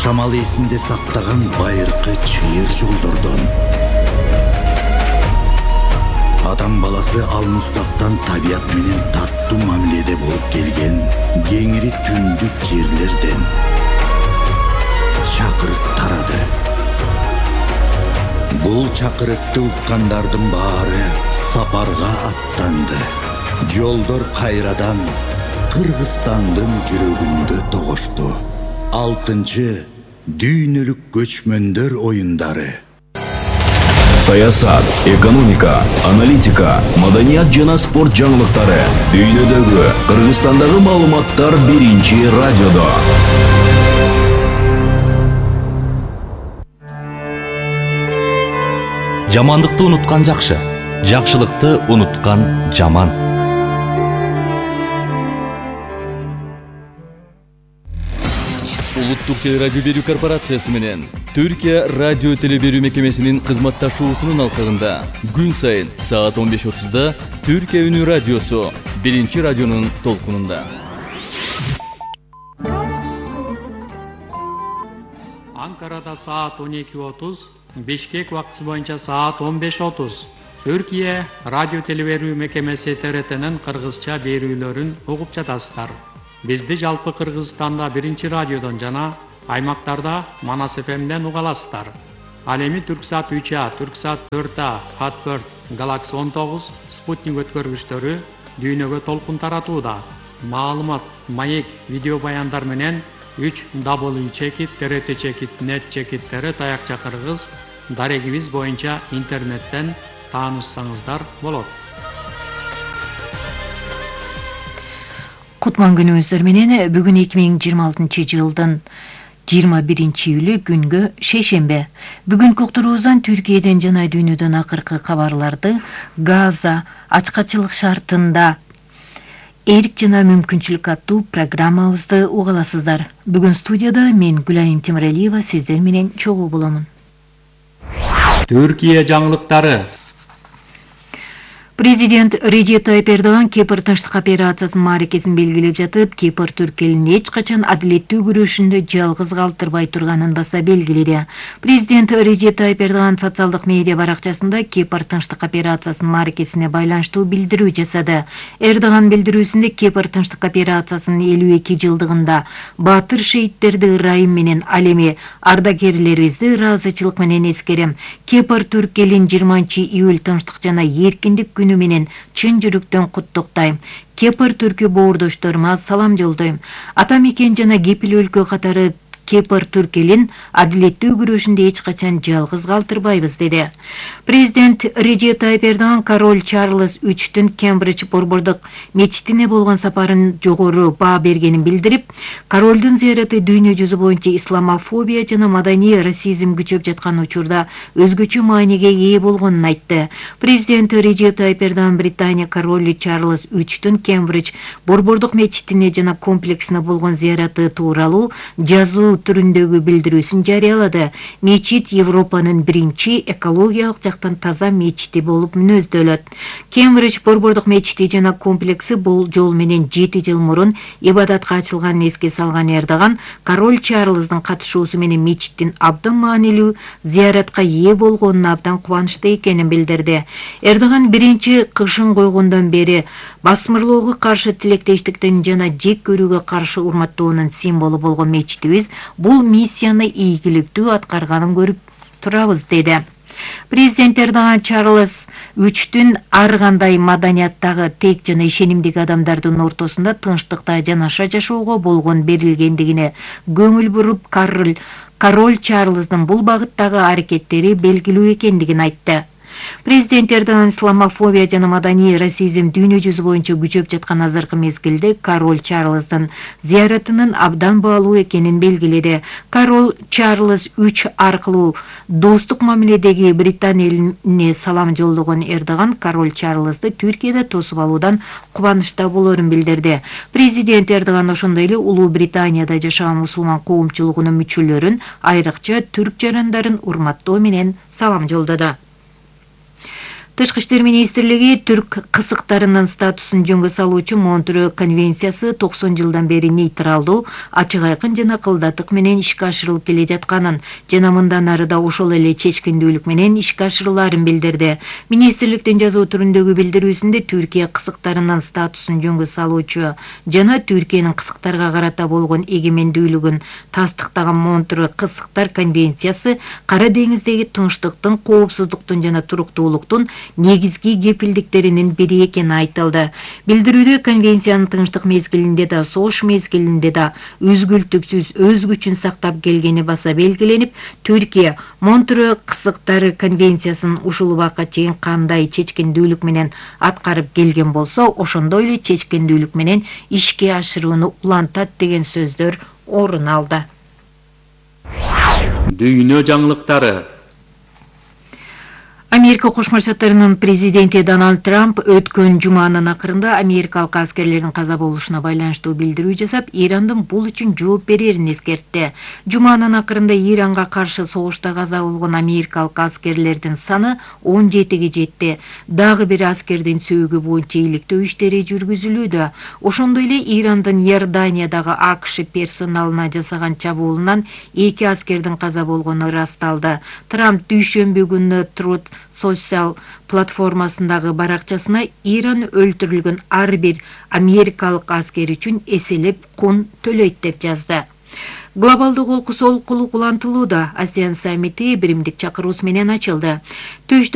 жашамал эсинде сактаган байыркы чыйыр жолдордон, адам баласы алмустактан табият менен таттуу мамиледе болуп келген кеңири түндүк жерлерден чакырык тарады. Бул чакырыкты уккандардын баары сапарга аттанды. Жолдор кайрадан Кыргызстандын жүрөгүндө тогошту. 6-чы дүйнөлүк көчмөндөр оюндары. Саясат, экономика, аналитика, маданият жана спорт жаңылыктары. Дүйнөдөгү, Кыргызстандагы маалыматтар биринчи радиодо. Жамандыкты унуткан жакшы, жакшылыкты унуткан жаман. Улуттук телерадио берүү корпорациясы менен Түркия радио телеберүү мекемесинин кызматташуусунун алкагында күн сайын саат 15:30 Түркия үнү радиосу биринчи радионун толкунунда. Анкарада саат 12:30, Бишкек убактысы боюнча саат 15:30. Түркия радио телеберүү мекемеси ТРТнин кыргызча берүүлөрүн угуп жатасыздар. Бизди жалпы Кыргызстанда биринчи радиодон жана аймактарда Манас ФМден уга аласыздар. Ал эми Түрксат 3А, Түрксат 4А, Хатберт, Galaxy 19, Спутник өткөргүчтөрү дүйнөгө толкун таратууда. Маалымат, маек, видео баяндар менен 3w.trt.net/tr таякча кыргыз дарегибиз боюнча интернеттен таанышсаңыздар болот. Кутман күнүңүздөр менен бүгүн 2026-жылдын 21-июлү күнгө шейшембе. Бүгүнкү уктуруубуздан Түркияден жана дүйнөдөн акыркы кабарларды, Газа ачкачылык шартында эрк жана мүмкүнчүлүк аттуу программабызды угаласыздар. Бүгүн студияда мен Гүлайым Темиралиева сиздер менен чогуу боломун. Түркия жаңылыктары. Президент Режеп Тайып Эрдоган Кипр тынчтык операциясынын мааракесин белгилеп жатып, Кипр Түрк элин эч качан адилеттүү күрөшүндө жалгыз калтырбай турганын баса белгиледи. Президент Режеп Тайып Эрдоган социалдык медиа баракчасында Кипр тынчтык операциясынын мааракесине байланыштуу билдирүү жасады. Эрдоган билдирүүсүндө Кипр тынчтык операциясынын 52 жылдыгында баатыр шейттерди ырайым менен ал эми ардагерлерибизди ыраазычылык менен эскерем. Кипр Түрк элин 20-июль тынчтык жана эркиндик күнү менен чын жүрөктөн куттуктайм. Кипр түркү боордошторума салам жолдойм. Ата мекен жана кепил өлкө катары Кипр Түрк элин адилеттүү күрөшүндө эч качан жалгыз калтырбайбыз деди. Президент Режеп Тайып Эрдоган король Чарльз 3-түн Кембридж борбордук мечитине болгон сапарын жогору баа бергенин билдирип, королдун зыяраты дүйнө жүзү боюнча исламофобия жана маданий расизм күчөп жаткан учурда өзгөчө мааниге ээ болгонун айтты. Президент Режеп Тайып Эрдоган Британия королу Чарльз 3-түн Кембридж борбордук мечитине жана комплексине болгон зыяраты тууралуу жазуу түрүндөгү билдирүүсүн жарыялады. Мечит Европанын биринчи экологиялык жактан таза мечити болуп мүнөздөлөт. Кембридж борбордук мечити жана комплекси бул жол менен 7 жыл мурун ибадатка ачылганын эске салган Эрдоган, король Чарльздын катышуусу менен мечиттин абдан маанилүү зыяратка ээ болгонуна абдан кубанычтуу экенин билдирди. Эрдоган биринчи кышын койгондон бери басмырлоого каршы тилектештиктин жана жек көрүүгө каршы урматтоонун символу болгон мечитибиз бул миссияны ийгиликтүү аткарганын көрүп турабыз деди. Президент Эрдоган Чарльз 3-түн ар кандай маданияттагы тек жана ишенимдеги адамдардын ортосунда тынчтыкта жанаша жашоого болгон берилгендигине көңүл буруп, король Чарльздын бул багыттагы аракеттери белгилүү экендигин айтты. Президент Эрдоган исламофобия жана маданий расизм дүйнө жүзү боюнча күчөп жаткан азыркы мезгилде король Чарльздын зыяратынын абдан баалуу экенин белгиледи. Король Чарльз 3 аркылуу достук мамиледеги Британия элине салам жолдогон Эрдоган король Чарльзды Түркияда тосуп алуудан кубанычта болорун билдирди. Президент Эрдоган ошондой эле Улуу Британияда жашаган мусулман коомчулугунун мүчөлөрүн, айрыкча түрк жарандарын урматтоо менен салам жолдоду. Тышкы иштер министрлиги түрк кысыктарынын статусун жөнгө салуучу Монтрeux конвенциясы 90 жылдан бери нейтралдуу, ачык айкын жана кылдаттык менен ишке ашырылып келе жатканын жана мындан ары да ошол эле чечкиндүүлүк менен ишке ашырылаарын билдирди. Министрликтин жазуу түрүндөгү билдирүүсүндө Түркия кысыктарынын статусун жөнгө салуучу жана Түркиянын кысыктарга карата болгон эгемендүүлүгүн тастыктаган Монтрeux кысыктар конвенциясы Кара деңиздеги тынчтыктын, коопсуздуктун жана туруктуулуктун негизги кепилдиктеринин бири экени айтылды. Билдирүүдө конвенциянын тынчтык мезгилинде да, согуш мезгилинде да үзгүлтүксүз өз күчүн сактап келгени баса белгиленип, Түркия Монтрeux кысыктары конвенциясын ушул убакка чейин кандай чечкиндүүлүк менен аткарып келген болсо, ошондой эле чечкиндүүлүк менен ишке ашырууну улантат деген сөздөр орун алды. Дүйнө жаңылыктары. Америка Кошмо Штаттарынын президенти Дональд Трамп өткөн жуманын акырында америкалык аскерлердин каза болушуна байланыштуу билдирүү жасап, Ирандын бул үчүн жооп берерин эскертти. Жуманын акырында Иранга каршы согушта каза болгон америкалык аскерлердин саны 17ге жетти. Дагы бир аскердин сөөгү боюнча иликтөө иштери жүргүзүлүүдө. Ошондой эле Ирандын Иорданиядагы АКШ персоналына жасаган чабуулунан 2 аскердин каза болгону ырасталды. Трамп дүйшөмбү күнү Truth социал платформасындагы баракчасына Иран өлтүрүлгөн ар бир америкалык аскер үчүн эселеп кун төлөйт деп жазды. Глобалдуу кол кулантылууда ASEAN саммити биримдик чакыруусу менен ачылды. Түштүк